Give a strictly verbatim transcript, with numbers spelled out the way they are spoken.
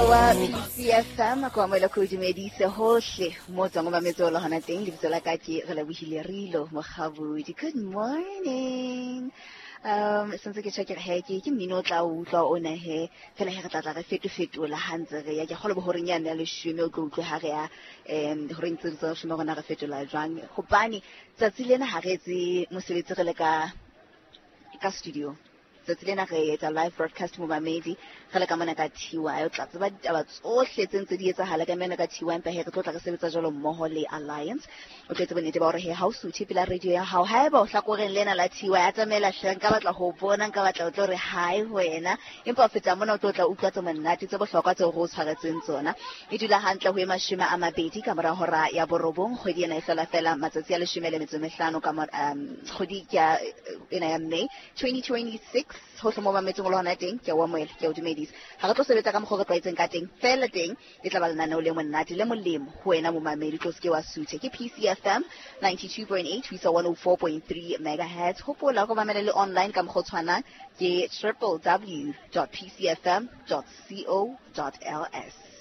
Wa P C F M ko amohela ko dumedise hohle mo tswang ba metso le hona teng lebitso la ka ke re lebohile Rilo Mokgabudi. Good morning. Um sentse ke tjho ke re he ke ke mmino o tla utlwa ona he fela he re tla tla re fetofetola ha ntse re ya ke kgolo bo horeng ya ne leshome o tlo utlwe ha re ya em horeng tse tsa leshome rona re fetola jwang hobane tsatsi lena ha re etse mosebetsi re le ka ka studio. Tsatsi lena re etsa live broadcast mo mamedi re le ka mona ka T Y o tla tseba ditaba tsohle tse ntse di etsahala ka mona ka T Y empa he re tlo tla re sebetsa jwalo mmoho le Alliance. O tlo tseba nnete ba hore he ha o suthe pela radio ya hao haeba o hlakoreng lena la T Y a tsamaela hle nka batla ho bona nka batla o tlo re hi ho wena empa o feta mona o tlo tla utlwa tse monate tse bohlokwa tseo re o tshwaretseng tsona. E dula hantle ho e mashome a mabedi ka mora hora ya borobong kgwedi ena e hlola fela matsatsi a leshome le metso e mehlano ka um kgwedi ya ena ya May twenty twenty-six. Hohle mo mametseng o le hona teng ke a o amohela ke a o dumedisa. Ha re tlo sebetsa ka mokgwa o re tlwaetseng ka teng fela teng e tla ba lenaneo le monate le molemo ho wena momamedi tlo se ke wa suthe. Ke P C F M ninety-two point eight ho isa one oh four point three megahertz. Hopola go mamela le online ka mokgwa o tshwanang ke w w w dot p c f m dot co dot l s.